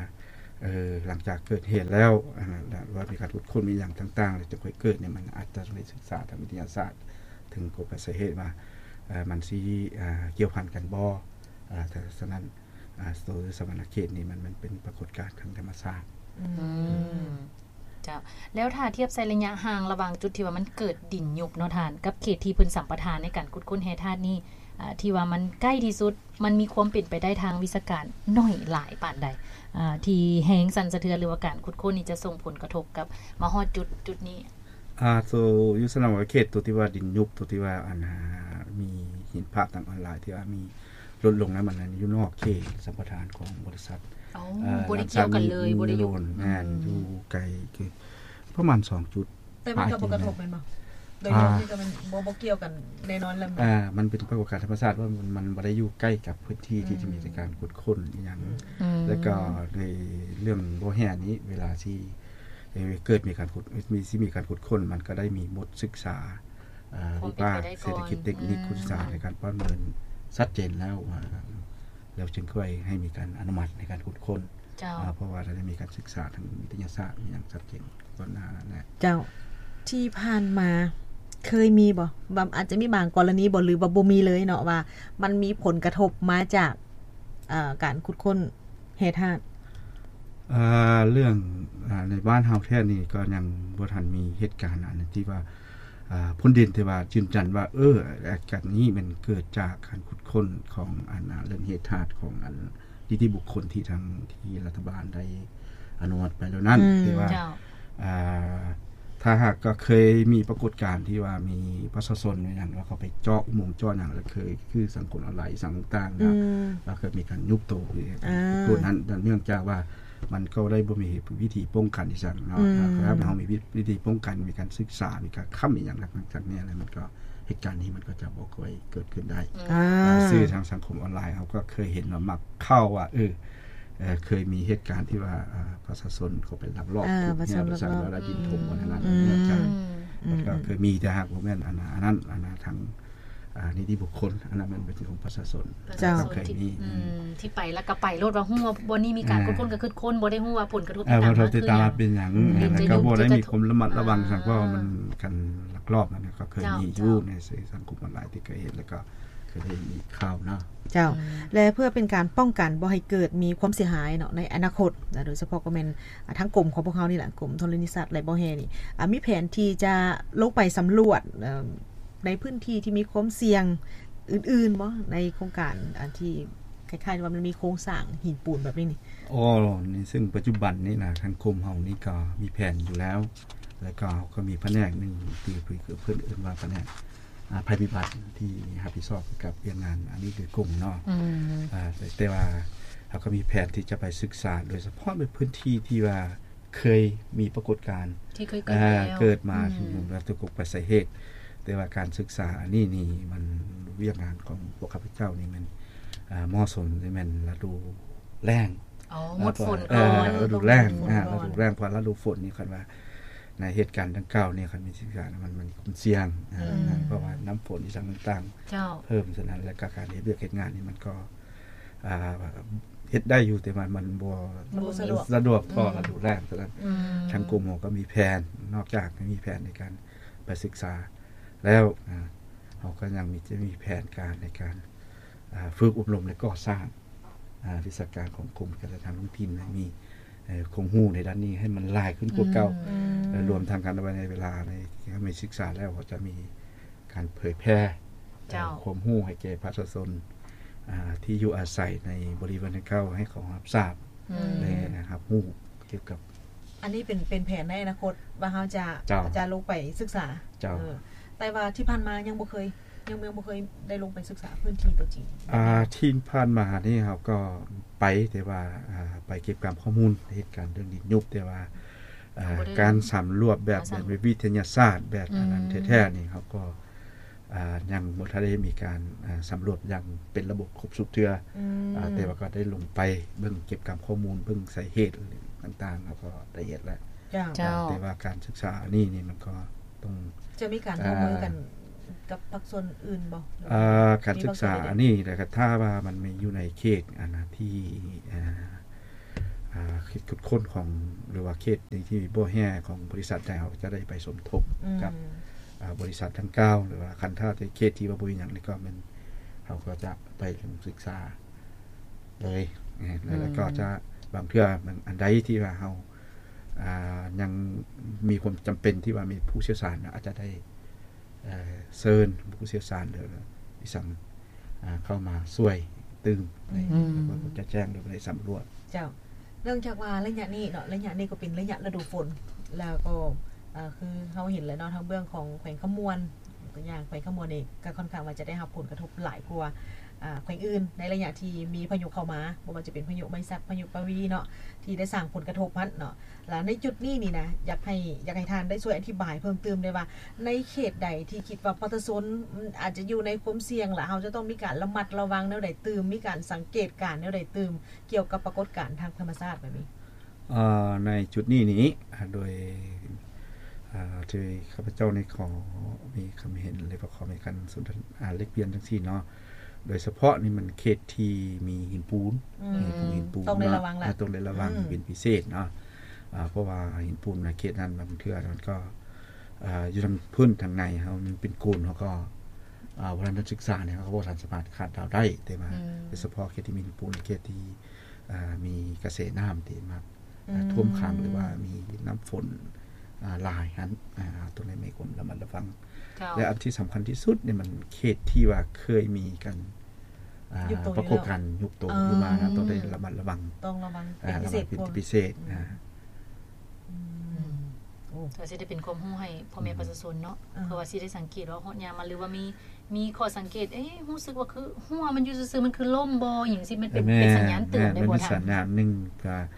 ເອີ ຫຼັງຈາກເກີດເຫດແລ້ວ ອັນນັ້ນ ວ່າມີການຂຸດຄົ້ນ ມີຫຍັງຕ່າງໆ ແລ້ວຈຶ່ງຄ່ອຍເກີດນີ້ ມັນອາດຈະຕ້ອງໄດ້ສຶກສາທາງວິທະຍາສາດ ເຖິງກົກໄປສາເຫດວ່າ ເອີ ມັນຊິ ເອີ ກ່ຽວພັນກັນບໍ່. ເອີ ແຕ່ສະນັ້ນ ເອີ ໂຕສະຫວັນນະເຂດນີ້ ມັນ ມັນເປັນປາກົດການທາງທຳມະຊາດ. ອືມ ເຈົ້າ. ແລ້ວຖ້າທຽບໃສ່ໄລຍະຫ່າງລະຫວ່າງຈຸດທີ່ວ່າມັນເກີດດິນຍຸບເນາະທ່ານ ກັບເຂດທີ່ເພິ່ນສຳປະທານໃນການຂຸດຄົ້ນແຮ່ທາດນີ້ ເອີ ທີ່ວ່າມັນໃກ້ທີ່ສຸດ ມັນມີຄວາມເປັນໄປໄດ້ທາງວິຊາການໜ້ອຍຫຼາຍປານໃດ ເອີ ທີ່ແຮງສັ່ນສະເທືອນ ຫຼືວ່າການຂຸດຄົ້ນນີ້ຈະສົ່ງຜົນກະທົບກັບມາຮອດຈຸດ ຈຸດນີ້? ອາ ໂຕຢູ່ສະໜອງເຂດ ໂຕທີ່ວ່າດິນຍຸບ ໂຕທີ່ວ່າ ອັນ ອາ ມີເຫັນພາບທາງອອນລາຍທີ່ວ່າມີ ລົດລົງນຳ ອັນນັ້ນຢູ່ນອກເຂດສຳປະທານຂອງບໍລິສັດ. ໂອ້ ເອີ ບໍ່ໄດ້ກ່ຽວກັນເລີຍ ບໍ່ໄດ້ຢູ່ ແມ່ນ ອືມ ຢູ່ໄກ ຄືປະມານສອງຈຸດ. ແຕ່ມັນກໍບໍ່ກະທົບແມ່ນບໍ່? ໂດຍ ອາ ລວມນີ້ກໍມັນບໍ່ ບໍ່ກ່ຽວກັນແນ່ນອນແລ້ວ. ອາ ມັນເປັນປາກົດການທຳມະຊາດວ່າມັນ ມັນບໍ່ໄດ້ຢູ່ໃກ້ກັບພື້ນທີ່ ອືມ ທີ່ຈະມີການຂຸດຄົ້ນອີ່ຫຍັງ. ອືມ ແລ້ວກໍໃນເລື່ອງບໍ່ແຮ່ນີ້ ເວລາທີ່ ເອີ ເກີດມີການຂຸດ ມີ ຊິມີການຂຸດຄົ້ນ ມັນກໍໄດ້ມີບົດສຶກສາ ເອີ ວິບາກເສດຖະກິດ ເຕັກນິກ ອືມ ຂຸດສຶກສາໃນການປະເມີນຊັດເຈນແລ້ວ ວ່າ ແລ້ວຈຶ່ງຄ່ອຍໃຫ້ມີການອະນຸມັດໃນການຂຸດຄົ້ນ. ເຈົ້າ. ເພາະວ່າໄດ້ມີການສຶກສາທາງວິທະຍາສາດອີ່ຫຍັງຊັດເຈນກ່ອນໜ້ານັ້ນແຫຼະ. ເຈົ້າ. ທີ່ຜ່ານມາເຄີຍມີບໍ່? ແບບອາດຈະມີບາງກໍລະນີບໍ່ ຫຼືວ່າບໍ່ມີເລີຍເນາະ ວ່າມັນມີຜົນກະທົບມາຈາກ ເອີ ການຂຸດຄົ້ນ ແຮ່ທາດ? ເອີ ເລື່ອງ ອາ ໃນບ້ານເຮົາແທ້ນີ້ກໍຍັງບໍ່ທັນມີເຫດການອັນທີ່ວ່າ ອາ ພົ້ນດິນທີ່ວ່າຢືນຢັນວ່າ ເອີ ອາການນີ້ແມ່ນເກີດຈາກການຂຸດຄົ້ນຂອງອັນ ອາ ເລື່ອງແຮ່ທາດຂອງອັນນິຕິບຸກຄົນທີ່ທາງ ທີ່ລັດຖະບານໄດ້ອະນຸມັດໄປແລ້ວນັ້ນ. ອືມ ແຕ່ວ່າ ເຈົ້າ. ອາ ຖ້າຫາກກໍເຄີຍມີປາກົດການທີ່ວ່າມີປະຊາຊົນຫຍັງ ແລ້ວເຂົາໄປເຈາະອຸໂມງເຈາະຫຍັງ ແລ້ວເຄີຍຄືສັງຄົມອອນລາຍ ອີ່ຫຍັງຕ່າງໆ ອືມ ແລ້ວເຄີຍມີການຍຸບໂຕ ອາ ໂຕນັ້ນ ເນື່ອງຈາກວ່າມັນກໍໄດ້ບໍ່ມີວິທີປ້ອງກັນອີ່ຫຍັງເນາະ. ອືມ ຖ້າເຮົາມີວິ ວິທີປ້ອງກັນ ມີການສຶກສາ ມີການຄ້ຳອີ່ຫຍັງຫຼັງຈາກນີ້ແລ້ວ ມັນກໍ ເຫດການນີ້ມັນກໍຈະບໍ່ຄ່ອຍເກີດຂຶ້ນໄດ້. ອືມ ອາ ອ່າ ສື່ທາງສັງຄົມອອນລາຍເຮົາກໍເຄີຍເຫັນວ່າມັກເຂົ້າວ່າ ເອີ ເອີ ເຄີຍມີເຫດການທີ່ວ່າ ເອີ ປະຊາຊົນເຂົາໄປລັກລອບ ອາ ຂຸດແຮ່ ປະຊາຊົນລັກລອບ ແລ້ວດິນຖົມ ອືມ ອັນນັ້ນ ອືມ ເນື່ອງຈາກ ອືມ ມັນກໍເຄີຍມີ ແຕ່ຫາກບໍ່ແມ່ນອັນ ອັນນັ້ນ ອັນນັ້ນທາງ ອາ ນິຕິບຸກຄົນ ອັນນັ້ນມັນເປັນຂອງປະຊາຊົນ. ເຈົ້າ. ເຄີຍມີ ອືມ ທີ່ໄປແລ້ວກໍໄປໂລດ ວ່າຮູ້ວ່າບ່ອນນີ້ມີການ ອ່າ ຂຸດຄົ້ນກໍຂຸດຄົ້ນ ບໍ່ໄດ້ຮູ້ວ່າຜົນກະທົບ ອ່າ ທີ່ຕາມມາຄືຫຍັງ ເປັນຫຍັງ ອືມ ແລ້ວກໍບໍ່ໄດ້ມີຄວາມລະມັດລະວັງ ອ່າ ສັງ ເພາະວ່າມັນການລັກລອບ ອັນນັ້ນກໍເຄີຍມີຢູ່ໃນສື່ສັງຄົມອອນລາຍທີ່ເຄີຍເຫັນ ແລ້ວກໍ ເຄີຍໄດ້ຍິນຂ່າວເນາະ. ເຈົ້າ. ອືມ ແລະ ເພື່ອເປັນການປ້ອງກັນບໍ່ໃຫ້ເກີດມີຄວາມເສຍຫາຍເນາະ ໃນອະນາຄົດ ໂດຍສະເພາະກໍແມ່ນ ອາ ທາງກົມຂອງພວກເຮົານີ້ແຫຼະ ກົມທໍລະນີສັດ ແລະ ບໍ່ແຮ່ນີ້ ອາ ມີແຜນທີ່ຈະລົງໄປສຳຫຼວດ ເອີ ໃນພື້ນທີ່ທີ່ມີຄວາມສ່ຽງອື່ນໆບໍ່ ໃນໂຄງການອັນທີ່ຄ້າຍໆວ່າມັນມີໂຄງສ້າງຫີນປູນແບບນີ້ນີ້? ອໍ ໃນເຊິ່ງປັດຈຸບັນນີ້ນະ ທາງກົມເຮົານີ້ກໍມີແຜນຢູ່ແລ້ວ ແລ້ວກໍເຮົາກໍມີພະແນກໜຶ່ງທີ່ເພິ່ນເອີ້ນວ່າພະແນກ ອາ ໄພພິບັດ ທີ່ຮັບຜິດຊອບກັບວຽກງານອັນນີ້ໂດຍກົງເນາະ. ອືມ ອາ ແຕ່ ແຕ່ວ່າເຮົາກໍມີແຜນທີ່ຈະໄປສຶກສາ ໂດຍສະເພາະໃນພື້ນທີ່ທີ່ວ່າເຄີຍມີປາກົດການ ທີ່ເຄີຍເກີດ ອາ ແລ້ວ ເກີດມາ ອືມ ທີ່ວ່າຕົກໄປສາເຫດ ແຕ່ວ່າການສຶກສາອັນນີ້ນີ້ ມັນ ວຽກງານຂອງພວກຂ້າພະເຈົ້ານີ້ແມ່ນ ອາ ເໝາະສົມ ແມ່ນລະດູແລ້ງ. ອໍ ໝົດຝົນ ເອີ ກ່ອນ ລະດູແລ້ງ ລະດູແລ້ງ ອາ ລະດູແລ້ງ ເພາະລະດູຝົນນີ້ ຄັນວ່າໃນເຫດການດັ່ງກ່າວນີ້ ຄັນມີສິ່ງສານ ມັນ ມັນມີຄວາມສ່ຽງ ອືມ ເພາະວ່ານ້ຳຝົນອີ່ຫຍັງຕ່າງໆ ເຈົ້າ ເພີ່ມ ສະນັ້ນ ແລ້ວກໍການເຮັດວຽກເຮັດງານນີ້ ມັນກໍ ອ່າ ເຮັດໄດ້ຢູ່ ແຕ່ວ່າມັນບໍ່ ມັນບໍ່ສະດວກ ສະດວກພໍ ອືມ ລະດູແລ້ງ ສະນັ້ນ ອືມ ທາງກົມເຮົາກໍມີແຜນ ນອກຈາກມີແຜນໃນການໄປສຶກສາແລ້ວ ອ່າ ເຮົາກໍຍັງມີ ຈະມີແຜນການໃນການ ອ່າ ຝຶກອົບຮົມ ແລະ ກໍ່ສ້າງ ອ່າ ວິຊາການຂອງກົມການຈັດຫາທ້ອງຖິ່ນໃຫ້ມີ ເອີ ຄວາມຮູ້ໃນດ້ານນີ້ໃຫ້ມັນຫຼາຍຂຶ້ນກວ່າເກົ່າ ອືມ ແລະ ລວມທັງກັນໄວ້ໃນເວລາໃນທີ່ເຮົາມີສຶກສາແລ້ວ ເຮົາຈະມີການເຜີຍແຜ່ ເຈົ້າ ຄວາມຮູ້ໃຫ້ແກ່ປະຊາຊົນ ອ່າ ທີ່ຢູ່ອາໄສໃນບໍລິເວນດັ່ງກ່າວ ໃຫ້ເຂົາຮັບຊາບ ອືມ ແລະ ຮັບຮູ້ກ່ຽວກັບ ອັນນີ້ເປັນ ເປັນແຜນໃນອະນາຄົດວ່າເຮົາຈະ ເຈົ້າ ຈະລົງໄປສຶກສາ ເຈົ້າ ເອີ ແຕ່ວ່າທີ່ຜ່ານມາຍັງບໍ່ເຄີຍ ຍັງ ຍັງບໍ່ເຄີຍໄດ້ລົງໄປສຶກສາພື້ນທີ່ຕົວຈິງ. ອ່າ ທີ່ຜ່ານມານີ້ເຮົາກໍໄປ ແຕ່ວ່າ ອ່າ ໄປເກັບກຳຂໍ້ມູນເຫດການເລື່ອງດິນຍຸບ ແຕ່ວ່າ ອ່າ ບໍ່ໄດ້ ການສຳຫຼວດແບບ ສຳ ແບບວິທະຍາສາດ ແບບ ອືມ ອັນນັ້ນແທ້ໆນີ້ ເຮົາກໍ ອ່າ ຍັງບໍ່ທັນໄດ້ມີການ ອ່າ ສຳຫຼວດຢ່າງເປັນລະບົບຄົບຊຸດເທື່ອ ອືມ ອ່າ ແຕ່ວ່າກໍໄດ້ລົງໄປເບິ່ງເກັບກຳຂໍ້ມູນ ເບິ່ງສາເຫດຕ່າງໆ ເຮົາກໍໄດ້ເຮັດແລ້ວ. ເຈົ້າ ເຈົ້າ ແຕ່ວ່າການສຶກສາອັນນີ້ນີ້ມັນກໍຕ້ອງ ຈະມີການຮ່ວມມືກັນ ອ່າ ກັບພາກສ່ວນອື່ນບໍ່? ເອີ ການສຶກສາອັນນີ້ແຫຼະ ຖ້າວ່າມັນມີຢູ່ໃນເຂດອັນນະທີ່ ເອີ ອ່າ ຂຸດຄົ້ນຂອງ ຫຼືວ່າເຂດທີ່ບໍ່ແຮ່ຂອງບໍລິສັດໃດ ເຮົາຈະໄດ້ໄປສົມທົບ ອືມ ກັບ ອາ ບໍລິສັດດັ່ງກ່າວ ຫຼືວ່າຄັນຖ້າແຕ່ເຂດທີ່ວ່າບໍ່ມີຫຍັງນີ້ ກໍແມ່ນເຮົາກໍຈະໄປລົງສຶກສາເລີຍ ແລ້ວກໍຈະ ອືມ ບາງເທື່ອ ບາງອັນໃດທີ່ວ່າເຮົາ ອ່າ ຍັງມີຄວາມຈຳເປັນທີ່ວ່າມີຜູ້ຊ່ຽວຊານ ອາດຈະໄດ້ ເອີ ເຊີນຜູ້ຊ່ຽວຊານ ຫຼື ອີ່ສັງ ອ່າ ເຂົ້າມາຊ່ວຍຕື່ມ ອືມ ໃນ ແລ້ວກໍຈະແຈ້ງ ຫຼື ໄດ້ສຳຫຼວດ. ເຈົ້າ ເນື່ອງຈາກວ່າໄລຍະນີ້ເນາະ ໄລຍະນີ້ກໍເປັນໄລຍະລະດູຝົນ ແລ້ວກໍ ເອີ ຄືເຮົາເຫັນແລ້ວເນາະ ທາງເບື້ອງຂອງແຂວງຄຳມ່ວນ ຕົວຢ່າງແຂວງຄຳມ່ວນນີ້ ກໍຄ່ອນຂ້າງວ່າຈະໄດ້ຮັບຜົນກະທົບຫຼາຍກວ່າ ອາ ແຂວງອື່ນ ໃນໄລຍະທີ່ມີພາຍຸເຂົ້າມາ ບໍ່ວ່າຈະເປັນພາຍຸໄມສັກ ພາຍຸປະວີເນາະ ທີ່ໄດ້ສ້າງຜົນກະທົບຫັ້ນເນາະ. ແລ້ວໃນຈຸດນີ້ນີ້ນະ ຢາກໃຫ້ ຢາກໃຫ້ທ່ານໄດ້ຊ່ວຍອະທິບາຍເພີ່ມເຕີມໄດ້ວ່າ ໃນເຂດໃດທີ່ຄິດວ່າປະຊາຊົນ ອາດຈະຢູ່ໃນຄວາມສ່ຽງ ແລະ ເຮົາຈະຕ້ອງມີການລະມັດລະວັງແນວໃດຕື່ມ ມີການສັງເກດການແນວໃດຕື່ມ ກ່ຽວກັບປາກົດການທາງທຳມະຊາດແບບນີ້? ເອີ ໃນຈຸດນີ້ນີ້ ອາ ໂດຍ ອາ ທີ່ຂ້າພະເຈົ້ານີ້ຂໍມີຄຳເຫັນ ຫຼືວ່າຂໍມີການສົນທະນາ ອາ ແລກປ່ຽນຈັ່ງຊີ້ເນາະ ໂດຍສະເພາະນີ້ມັນເຂດທີ່ມີຫີນປູນ ອືມ ຫີນປູນ ຫີນປູນ ຕ້ອງໄດ້ລະວັງລະ ເນາະ ອາ ຕ້ອງໄດ້ລະວັງ ອືມ ເປັນພິເສດເນາະ ອາ ເພາະວ່າຫີນປູນໃນເຂດນັ້ນບາງເທື່ອມັນກໍ ອາ ຢູ່ທາງພື້ນທາງໃນເຮົາມັນເປັນໂກນ ເຮົາກໍ ອາ ບໍ່ທັນໄດ້ສຶກສານີ້ ເຮົາກໍບໍ່ທັນສາມາດຄາດເດົາໄດ້ ແຕ່ວ່າ ອືມ ໂດຍສະເພາະເຂດທີ່ມີຫີນປູນ ເຂດທີ່ ອາ ມີກະແສນ້ຳທີ່ມັກ ອືມ ຖ້ວມຂັງ ຫຼືວ່າມີນ້ຳຝົນ ອາ ຫຼາຍຫັ້ນ ອາ ຕ້ອງໄດ້ມີຄວາມລະມັດລະວັງ ເຈົ້າ ແລະ ອັນທີ່ສຳຄັນທີ່ສຸດນີ້ມັນເຂດທີ່ວ່າເຄີຍມີການ ອາ ປາກົດການຍຸບໂຕ ເອີ ຂຶ້ນມານະ ຕ້ອງໄດ້ລະມັດລະວັງ ຕ້ອງລະວັງເປັນພິເສດ ລະວັງເປັນພິເສດ ອືມ ອາ ອືມ ໂອ້ ກໍຊິໄດ້ເປັນຄວາມຮູ້ໃຫ້ພໍ່ແມ່ ອືມ ປະຊາຊົນເນາະ ອາ ເພື່ອວ່າຊິໄດ້ສັງເກດວ່າຮອດຍາມມາ ຫຼືວ່າມີ ມີຂໍ້ສັງເກດ ເອ ຮູ້ສຶກວ່າຄືຮົ້ວມັນຢູ່ຊື່ໆ ມັນຄືລົ້ມບໍ່ ຫຍັງຊີ້ ມັນເປັນ ແມ່ນ ເປັນສັນຍານເຕືອນໄດ້ບໍ່ທ່ານ? ແມ່ນ ມັນມີສັນຍານໜຶ່ງ ກະ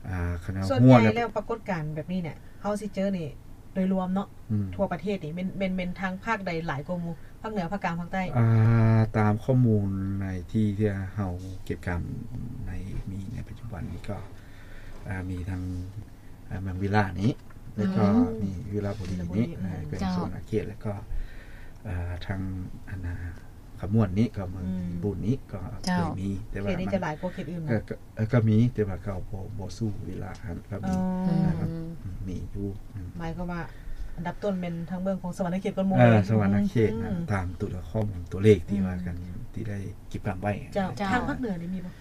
ອາ ຄັນວ່າ ສ່ວນໃຫຍ່ແລ້ວປາກົດການແບບນີ້ເນຍ ເຮົາຊິເຈີນີ້ໂດຍລວມເນາະ ອືມ ທົ່ວປະເທດນີ້ ແມ່ນ ແມ່ນ ແມ່ນທາງພາກໃດຫຼາຍກວ່າໝູ່? ພາກເໜືອ ພາກກາງ ພາກໃຕ້? ອາ ຕາມຂໍ້ມູນໃນທີ່ ທີ່ເຮົາເກັບກຳໃນ ມີໃນປັດຈຸບັນນີ້ກໍ ອາ ມີທັງ ອາ ເມືອງວິລານີ້ ແລ້ວກໍ ອືມ ມີວິລະບູລີນີ້ ວິລະບູລີ ອາ ແຂວງ ເຈົ້າ ສະຫວັນນະເຂດ ແລ້ວກໍ ອາ ທາງ ອັນນ່າ ຂະມວນນີ້ ກໍເມືອງ ອືມ ບູນນີ້ກໍ ເຈົ້າ ເຄີຍມີ ແຕ່ວ່າເຂດນີ້ຈະຫຼາຍກວ່າເຂດອື່ນ ກໍ ເນາະ ກໍ ກໍມີ ແຕ່ວ່າກໍບໍ່ ບໍ່ສູ້ວິລະຫັ້ນ ກໍມີ ອໍ ອືມ ນະ ກໍ ອືມ ມີຢູ່ ອືມ ໝາຍຄວາມວ່າອັນດັບຕົ້ນແມ່ນທາງເບື້ອງຂອງສະຫວັນນະເຂດກ່ອນໝູ່ ເອີ ເລີຍ ສະຫວັນນະເຂດ ອືມ ນະ ຕາມຕົວຂໍ້ມູນຕົວເລກທີ່ ອືມ ວ່າກັນ ທີ່ໄດ້ເກັບກຳໄວ້ ເຈົ້າ ເຈົ້າ ທາງພາກເໜືອນີ້ມີບໍ່?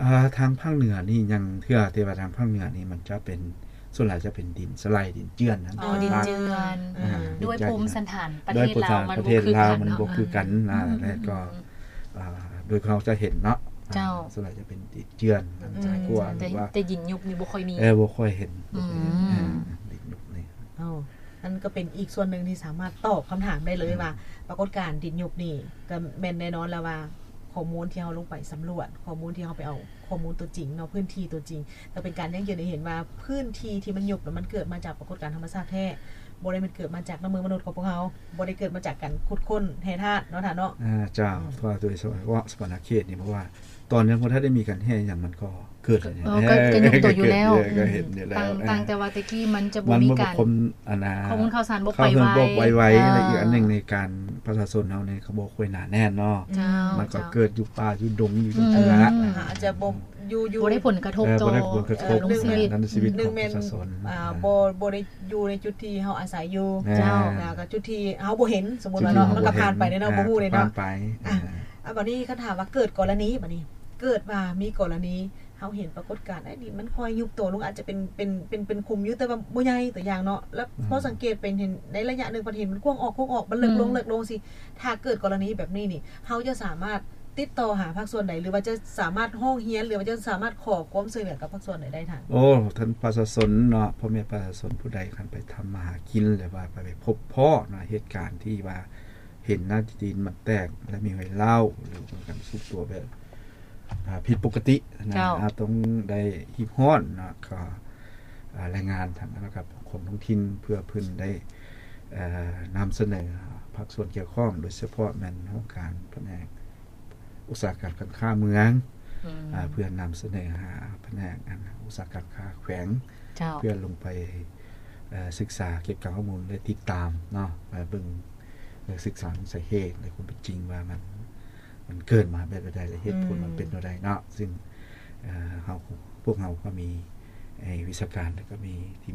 ອ່າ ທາງພາກເໜືອນີ້ຍັງເທື່ອ ແຕ່ວ່າທາງພາກເໜືອນີ້ມັນຈະເປັນ ສ່ວນຫຼາຍຈະເປັນດິນສະໄຫຼ ດິນເຈື່ອນຫັ້ນ ອໍ ດິນເຈື່ອນ ອືມ ອາ ດິນເຈື່ອນ ດ້ວຍພູມສັນຖານປະເທດລາວ ມັນບໍ່ຄືກັນເນາະ ອືມ ແລ້ວກໍ ອືມ ອາ ໂດຍເຮົາຈະເຫັນເນາະ ເຈົ້າ ອາ ສ່ວນຫຼາຍຈະເປັນດິນເຈື່ອນ ອືມ ຫຼາຍກວ່າ ແຕ່ ແຕ່ດິນຍຸບນີ້ບໍ່ຄ່ອຍມີ ເອີ ບໍ່ຄ່ອຍເຫັນ ອືມ ບໍ່ຄ່ອຍເຫັນ ເອີ ດິນຍຸບນີ້ ເອີ ນັ້ນກໍເປັນອີກສ່ວນໜຶ່ງທີ່ສາມາດຕອບຄຳຖາມໄດ້ເລີຍ ອືມ ວ່າປາກົດການດິນຍຸບນີ້ ກໍແມ່ນແນ່ນອນແລ້ວວ່າ ຂໍ້ມູນທີ່ເຮົາລົງໄປສຳຫຼວດ ຂໍ້ມູນທີ່ເຮົາໄປເອົາຂໍ້ມູນຕົວຈິງເນາະ ພື້ນທີ່ຕົວຈິງ ກໍເປັນການຢັ້ງຢືນໃຫ້ເຫັນວ່າພື້ນທີ່ທີ່ມັນຍຸບ ແລ້ວມັນເກີດມາຈາກປາກົດການທຳມະຊາດແທ້ ບໍ່ໄດ້ແມ່ນເກີດມາຈາກນ້ຳມືມະນຸດຂອງພວກເຮົາ ບໍ່ໄດ້ເກີດມາຈາກການຂຸດຄົ້ນແຮ່ທາດເນາະທ່ານເນາະ ອາ ເຈົ້າ ອືມ ເພາະວ່າໂດຍສະເພາະສະຫວັນນະເຂດນີ້ ເພາະວ່າຕອນຍັງບໍ່ທັນໄດ້ມີການແຮ່ຫຍັງ ມັນກໍ ເກີດ ເອີ ກໍ ກໍຍຸບໂຕຢູ່ແລ້ວ ເອີ ກໍເຫັນຢູ່ແລ້ວ ຕ່າງ ຕ່າງແຕ່ວ່າແຕ່ກີ້ມັນຈະບໍ່ມີການ ມັນບໍ່ຄົມ ອັນນ່າ ຂໍ້ມູນຂ່າວສານບໍ່ໄປໄວ ບໍ່ໄວ ອາ ແລະ ອີກອັນໜຶ່ງໃນການປະຊາຊົນເຮົານີ້ກໍບໍ່ຄ່ອຍໜາແໜ້ນເນາະ ເຈົ້າ ມັນກໍເກີດຢູ່ປ່າຢູ່ດົງຢູ່ ອືມ ຈັ່ງຊີ້ແຫຼະ ອືມ ອາດຈະບໍ່ຢູ່ ຢູ່ ບໍ່ໄດ້ຜົນກະທົບ ເອີ ຕໍ່ ບໍ່ໄດ້ຜົນກະທົບ ເອີ ດຳລົງຊີວິດ ດຳລົງຊີວິດຂອງປະຊາຊົນ ອືມ ອາ ບໍ່ ບໍ່ໄດ້ຢູ່ໃນຈຸດທີ່ເຮົາອາໄສຢູ່ ແມ່ນ ເຈົ້າ ແລ້ວກໍຈຸດທີ່ເຮົາບໍ່ເຫັນ ສົມມຸດວ່າເນາະ ຈຸດທີ່ເຮົາບໍ່ເຫັນ ມັນກໍຜ່ານໄປເນາະ ອ່າ ບໍ່ຮູ້ເລີຍເນາະ ຜ່ານໄປ ອ່າ ອ່າ ບາດນີ້ຄັນຖາມວ່າເກີດກໍລະນີ ບາດນີ້ເກີດວ່າມີກໍລະນີ ເຮົາເຫັນປາກົດການ ເອີຍ ດິນມັນຄ່ອຍຍຸບໂຕລົງ ອາດຈະເປັນ ເປັນ ເປັນ ເປັນຂຸມຢູ່ ແຕ່ວ່າບໍ່ໃຫຍ່ ຕົວຢ່າງເນາະ ແລ້ວ ອືມ ພໍສັງເກດເປັນ ເຫັນໃນໄລຍະໜຶ່ງ ເພິ່ນເຫັນມັນກວ້າງອອກ ກວ້າງອອກ ມັນເລິກລົງ ອືມ ເລິກລົງຊີ້ ຖ້າເກີດກໍລະນີແບບນີ້ນີ້ ເຮົາຈະສາມາດຕິດຕໍ່ຫາພາກສ່ວນໃດ ຫຼືວ່າຈະສາມາດຮ້ອງຮຽນ ຫຼືວ່າຈະສາມາດຂໍຄວາມຊ່ວຍເຫຼືອກັບພາກສ່ວນໃດໄດ້ທ່ານ? ໂອ້ ທ່ານປະຊາຊົນເນາະ ພໍ່ແມ່ປະຊາຊົນຜູ້ໃດຄັນໄປທຳມາຫາກິນ ຫຼືວ່າໄປ ໄປພົບພໍ້ເນາະ ເຫດການທີ່ວ່າເຫັນໜ້າທີ່ດິນມັນແຕກ ແລະ ມີຮອຍຮ້າວ ຫຼືວ່າການຊຸດຕົວແບບ ອ່າ ຜິດປົກກະຕິນະ ເຈົ້າ ເຮົາຕ້ອງໄດ້ຮີບຮ້ອນເນາະ ກໍ ອ່າ ລາຍງານທາງ ແລ້ວກໍ ປກຄອງທ້ອງຖິ່ນ ເພື່ອເພິ່ນໄດ້ ເອີ ນຳສະເໜີພາກສ່ວນກ່ຽວຂ້ອງ ໂດຍສະເພາະແມ່ນຫ້ອງການພະແນກອຸດສາຫະກຳການຄ້າເມືອງ ອືມ ອ່າ ເພື່ອນຳສະເໜີຫາພະແນກ ອັນ ອຸດສາຫະກຳຄ້າແຂວງ ເຈົ້າ ເພື່ອລົງໄປ ເອີ ສຶກສາເກັບກຳຂໍ້ມູນ ແລະ ຕິດຕາມເນາະ ເບິ່ງ ເອີ ສຶກສາສາເຫດ ແລະ ຄວາມເປັນຈິງວ່າມັນ ມັນເກີດມາແບບໃດ ແລະ ເຫດຜົນມັນເປັນແນວໃດເນາະ ອືມ ຊຶ່ງ ເອີ ເຮົາ ພວກເຮົາກໍມີ ໃນວິຊາການ ແລ້ວກໍມີທີ່